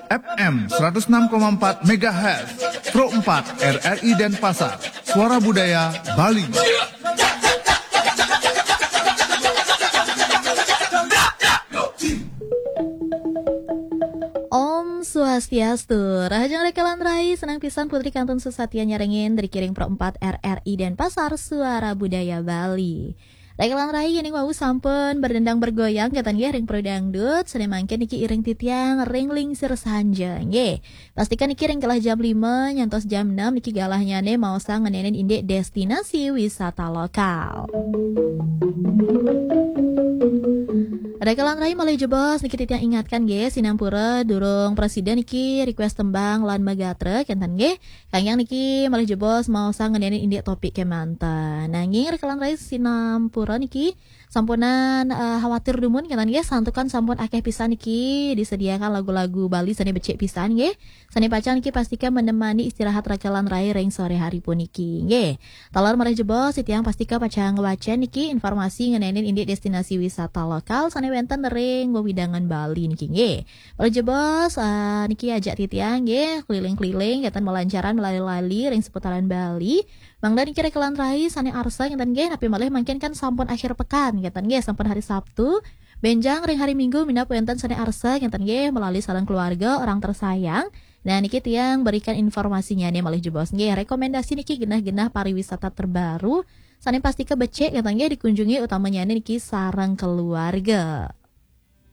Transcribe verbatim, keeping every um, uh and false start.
F M seratus enam koma empat megahertz, Pro empat R R I Denpasar, Suara Budaya Bali. Om Swastiastu. Rahajeng Rekelan Rai, senang pisan Putri kantun sesatian nyarengin dari Kiring Pro empat R R I Denpasar, Suara Budaya Bali. Rekelan Rai, ini wau sampun berdendang bergoyang katan nggih ring Pro Dangdut, sane mangkin niki iring titiang ring lingsir sanja nggih. Pastikan niki ring kelah jam lima nyantos jam enam niki galahnyane maosang ngenenin indik destinasi wisata lokal. Rekelan Rai malih jebos niki titiang ingatkan nggih, sinampura durung presida niki request tembang lan magatra kenten nggih. Kanggiang niki malih jebos maosang ngenenin indik topik kemanten. Nanging Rekelan Rai sinampura niki sampunan eh, khawatir dumun kenten nggih, santukan sampun akeh pisan niki disediakan lagu-lagu Bali sane becik pisan nggih. Sane pacang niki pastika menemani istirahat Rekelan Rai ring sore hari puniki nggih. Taler malih jebos, titiang pastika pacang ngwacen niki informasi ngenenin indik destinasi wisata lokal sane wenten ring wewidangan Bali niki nggih. Malih jebos, eh, niki ajak titiang nggih keliling-keliling kenten melancaran melali-lali ring seputaran Bali. Mangda niki Rekelan Rai sane arsa kenten nggih, napi malih mangkin kan sampun akhir pekan kenten nggih, sampun hari Sabtu. Benjang ring hari Minggu minab wenten sane arsa kenten nggih melali sareng keluarga orang tersayang. Nah, niki tiang berikan informasinya nih malih jebos nggih. Rekomendasi niki genah-genah pariwisata terbaru sane pastika becik kenten nggih dikunjungi, utamanya niki sareng keluarga.